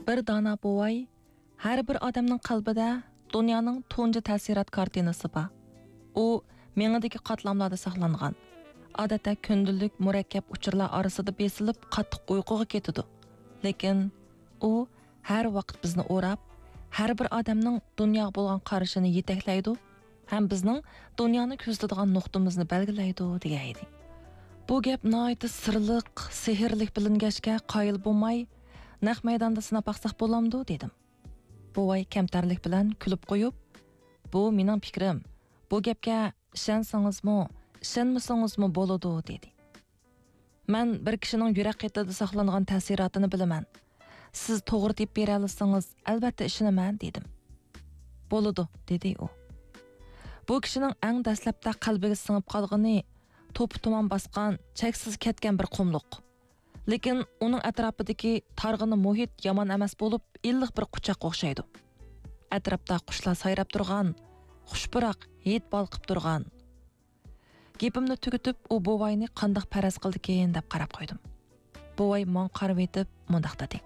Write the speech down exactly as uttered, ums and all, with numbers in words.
بىر دانا بوۋاي، ھەر بىر ئادەمنىڭ قەلبىدە دۇنيانىڭ تۇنجى تەسىرات كارتىنىسى بار. ئۇ مېڭىدىكى قاتلاملاردا ساقلانغان، ئادەتتە كۈندىلىك مۇرەككەپ ئۇچۇرلار ئارىسىدا بېسىلىپ قاتتىق ئۇيقۇغا كېتىدۇ. لېكىن ئۇ ھەر ۋاقىت بىزنى ئوراپ، ھەر بىر ئادەمنىڭ دۇنياغا بولغان قارىشىنى يېتەكلەيدۇ ھەم بىزنىڭ دۇنيانى كۆزىتىدىغان نۇقتىمىزنى بەلگىلەيدۇ، دېگەن ئىدى. بۇ گەپ ناھايىتى سىرلىق، سېھىرلىك بىلىنگەچكە قايىل بولماي، نەق مەيداندا سىناپ باقساق بولامدۇ؟ دېدىم. بوۋاي كەمتەرلىك بىلەن كۈلۈپ قويۇپ، بۇ مېنىڭ پىكرىم. بۇ گەپكە ئىشەنسىڭىزمۇ، ئىشەنمىسىڭىزمۇ بولىدۇ، دېدى. مەن بىر كىشىنىڭ يۈرەك قېتىدا ساقلانغان تەسىراتىنى بىلىمەن. سىز توغرا تېپىپ بېرەلىسىڭىز، ئەلۋەتتە ئىشىنىمەن، دېدىم. بولىدۇ، دېدى ئۇ. بۇ كىشىنىڭ ئەڭ دەسلەپتە قەلبىگە سىڭىپ قالغىنى توپا تۇمان باسقان، چەكسىز كەتكەن بىر قۇملۇق. لېكىن ئۇنىڭ ئەتراپىدىكى تارغىنا مۇھىت يامان ئەمەس بولۇپ، ئىللىق بىر قۇچاققا ئوخشايدۇ. ئەتراپتا قۇشلار سايراپ تۇرغان، خۇش پۇراق ھىد بالقىپ تۇرغان. گېپىمنى تۈگىتىپ، ئۇ بوۋاينى قانداق پەرەز قىلدىكىن دەپ قاراپ قويدۇم. بوۋاي ماڭا قارىۋېتىپ مۇنداق دېدى: